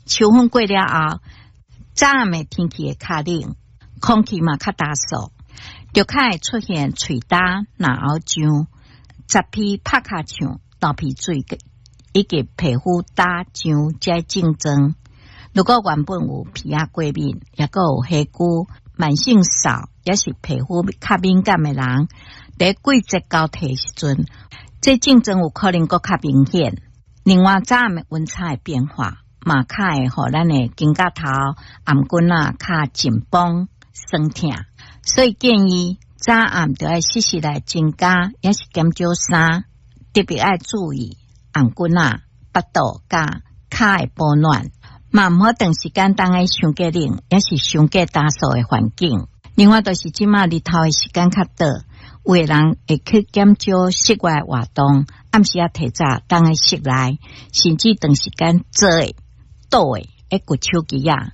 秋分過了後，早暗的天氣會較冷，空氣嘛較焦燥，就較會出現喙焦、嚨喉脹、雜皮拍尻唱、流鼻水以及皮膚焦脹這症狀。如果原本有皮仔過敏，抑閣有皮膚慢性燥，抑是皮膚較敏感的人，佇季節交替時陣，這症狀有可能閣較明顯。另外，早暗的溫差的變化，嘛較會予咱的肩胛頭、頷頸仔較緊繃、酸疼。所以建議早暗著愛適時來增加，抑是減少衫，特別愛注意頷頸仔、腹肚佮跤的保暖。嘛毋好長時間踮咧傷過冷，抑是傷過焦燥的環境。另外，就是這馬日頭的時間較短，有的人會去減少室外活動，暗時仔提早踮咧室內，甚至長時間坐的、倒的，會滑手機仔。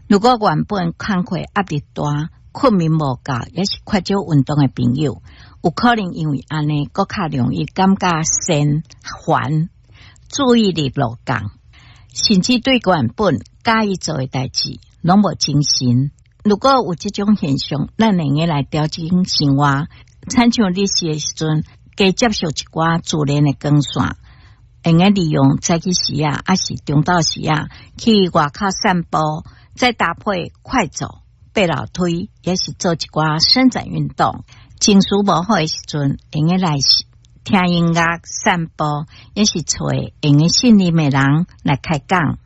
如果原本工課壓力大、睏眠無夠，抑是缺少運動的朋友，有可能因為按呢，閣較容易感覺神煩、注意力落降，甚至對原本佮意做的代誌攏無精神。如果有這種現象，咱會用來調整生活，親像日時的時陣，加接受一寡自然的光線，會用利用早起時仔，抑是中晝時仔去外口散步，再搭配快走、爬樓梯，抑是做一寡伸展運動。情緒無好的時陣，會用來聽音樂、散步，抑是揣會用信任的人來開講。